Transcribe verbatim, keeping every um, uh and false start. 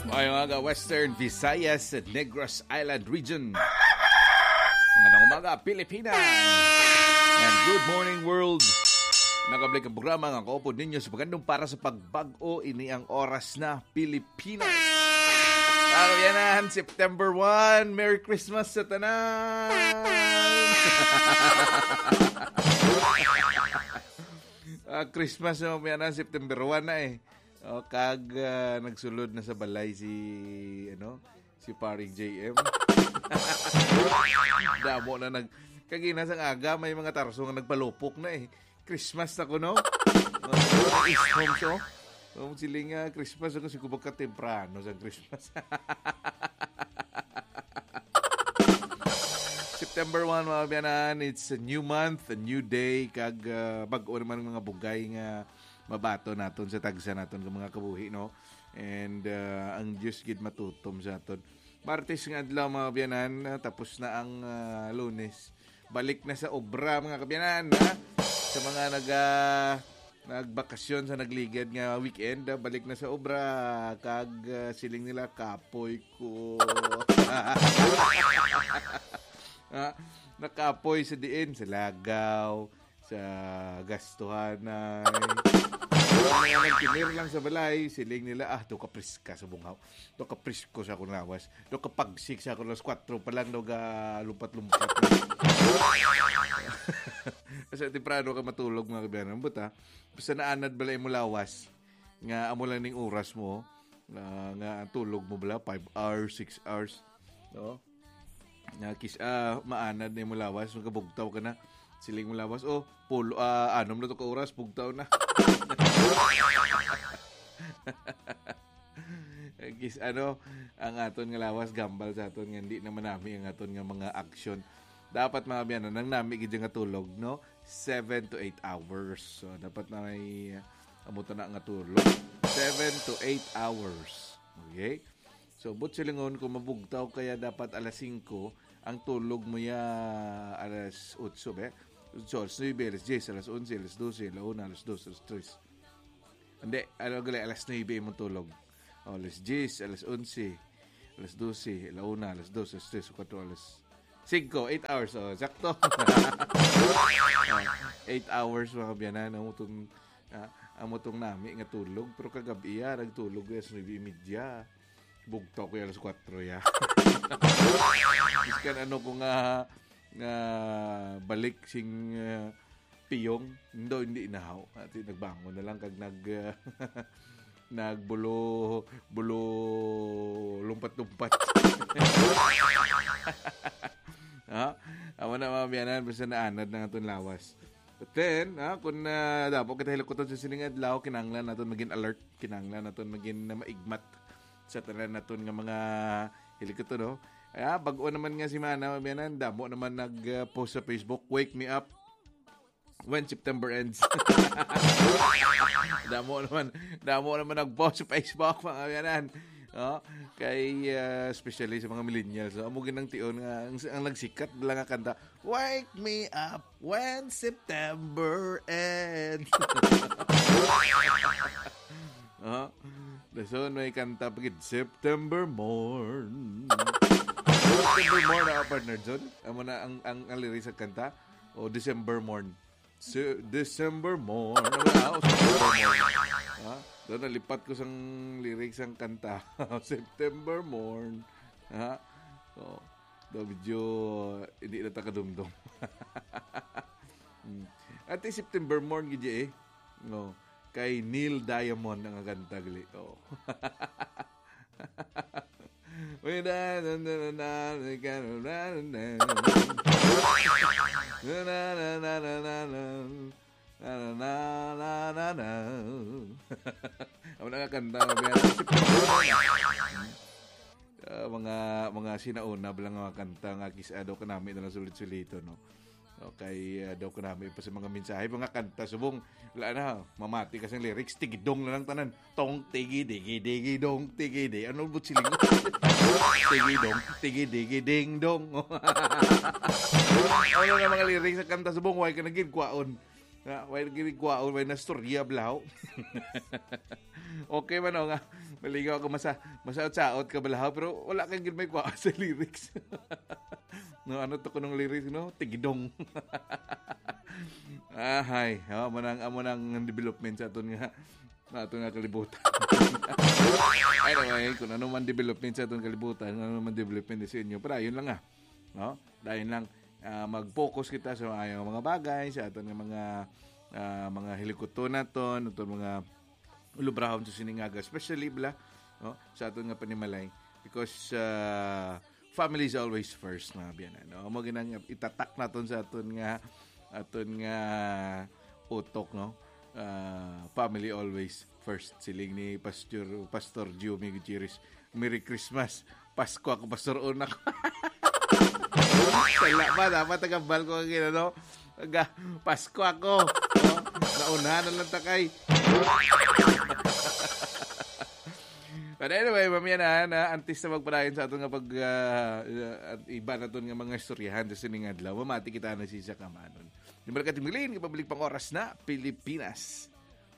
Ay, mga Western Visayas, Negros Island Region. Ngayong umaga, Pilipinas. And good morning, world. Nagabalik ang programa nga kaupod ninyo sa pagandong para sa pagbag-o. Ini ang oras na Pilipinas. Para yan, September one. Merry Christmas sa tanan. Ah, Christmas na, mga September one na eh. O, kag, ah, nagsulod na sa balay si, ano, si Paring J M. Damo na nag-, kagina sang aga, may mga tarso nga nagpalupok na eh. Christmas na kuno. O, East Homes, o. O, sila nga Christmas, ako siguro ka temprano sa Christmas. September one, mga biyanan, it's a new month, a new day, kag, ah, bag-o naman mga bugay nga mabaton naton sa tagsa naton nga mga kabuhi, no? And, ah, ang Dios gid matutom sa aton. Martes nga adlaw, mga biyanan, ah, tapos na ang, ah, Lunes. Balik na sa obra, mga kabiyanan, ha? Sa mga nag, ah, nagbakasyon sa nagligad nga weekend, ah, balik na sa obra, kag, ah, siling nila, "Kapoy ko." Ha? Nakapoy sa diin, sa lagaw, sa gastuhanay. Ang mga nagtinir lang sa balay, siling nila, "Ah, do ka priska sa bungaw. Do ka prisko sa akong lawas. Do ka pagsik sa akong lawas. Kwatro pa lang, do ka lumpat-lumpat na." Kasi temprano ka matulog, mga kabiyanan. Ambot, ha? Basta naanad bala imo lawas. Nga amo lang ning oras mo. Nga, nga ang tulog mo bala, five hours, six hours. No? Nga kis-, ah, maanad na imo lawas, magkabugtaw ka na. Siling mo lawas, "Oh, pulo, ah, anom na to ka oras, bugtaw na." Kis-, ano, ang aton nga lawas, gambal sa aton nga hindi naman nami ang aton nga mga action. Dapat, mga biyanan, ang nami gid nga tulog, no? Seven to eight hours. So, dapat na may, ah, amo to na nga tulog. Seven to eight hours. Okay? So, but silingon, kung mabugtaw kaya dapat alas singko, ang tulog mo ya alas otso, be? Otso, alas nuebe, alas diyes, alas onse, alas dose, alas una, alas dos, alas tres. Hindi, ano gali, alas nuebe imong tulog. O, alas diyes, alas onse, alas dose, alas una, alas dos, alas tres, alas kuwatro, alas singko, eight hours, o, sakto. O, eight hours, mga biyanan, amo tong, ah, amo tong nami nga tulog, pero kagab-i, ah, nagtulog ko alas nuebe y media. Bugtaw ko alas kuwatro, ya. Biskan ano ko nga, nga balik sing, ah, piyong, hindi, hindi nahaw. Ati, nagbangon na lang kag nag, ah, nagbulo, bulo lumpat-lumpat. Ha? Amo na, mga biyanan, basta naanad na nga aton lawas. But then, ha, kung, ah, damo kita hilikuton sa sining adlaw, kinahanglan naton maging alert, kinahanglan naton maging na maigmat sa tanan naton nga mga hilikuton, no? Ay, ah, bag-o naman nga semana, mga biyanan, damo naman nag, ah, post sa Facebook, "Wake me up when September ends." Damo naman, damo naman nag-post sa Facebook, mga biyanan. Oh, kay, ah, especially sa mga millennials, no? Amo ginang tion nga ang, ang nagsikat lang nga kanta, "Wake me up when September ends." Oh, dason may kanta pa gid, "September Morn." September Morn, ah, partner John. Amo na ang, ang, ang lyrics sa kanta. O December Morn. Se-, December Morn. Ano ba? O, September Morn. Ha? Daw nalipat ko sang lyrics sang kanta. September Morn. Ha? O, daw medyo hindi na ta kadumdom. Hmm. Ati September Morn gid eh. No. Kay Neil Diamond ang kanta gali. O. Uy, na, na, na, na, na, na, na, na, na. Na, na, na, na, na, na, na. Na, na, na, na, na, na. Amo na nga kanta, mga biyanan. Ah, mga, mga sinauna ba lang nga mga kanta nga kis-, ah, daw kanami na lang sulit-suliton, no? Okay, ah, daw kanami pa sa mga mensahe, mga kanta, subong, wala na, mamati ka sa lyrics, tigidong na lang tanan. Tong tigi digi digi dong tigi di. Ano ba siling? Tigi dong, tigi digi ding dong. Ano na mga lyrics sa kanta subong, way ka na gid kwaon. Nga, way na gid kwaon, way na storya, blaw. Okay man, o, nga. Malingaw ako, masa masaot-saot ka balahaw, pero wala kang gid may kuha sa lyrics. No, ano to kunong lyrics, no? Tigidong. Ahay, oh, amo nang, amo nang development sa aton nga, sa aton nga kalibutan. Anyway, kung ano man development sa aton kalibutan, ano man development sa inyo, pero yun lang nga. No? Dahil lang, ah, mag-focus kita sa mga, mga bagay, sa aton nga mga, ah, mga hilikuton naton, aton mga ulubrahon sa sining aga, especially bala, no, sa aton nga panimalay, because, ah, family is always first, mga biyanan, no? Mo ginang itatak naton sa aton nga, aton nga utok, no? Ah, family always first, siling ni Pastor, Pastor Jimmy Gutierrez. Merry Christmas. Pasko ako, Pastor Unak. Sala ba? Dapat nagambal ko ang ginano. Aga, Pasko ako. No? Naunahan na lang takay. But anyway, mamaya na, na antes na magpadayon sa aton nga pag, ah, ah, iba naton nga mga istoryahan sa sining adlaw, mamati kita na si sa kamanon. Di ba, Katimilin, kapabalik pang oras na Pilipinas.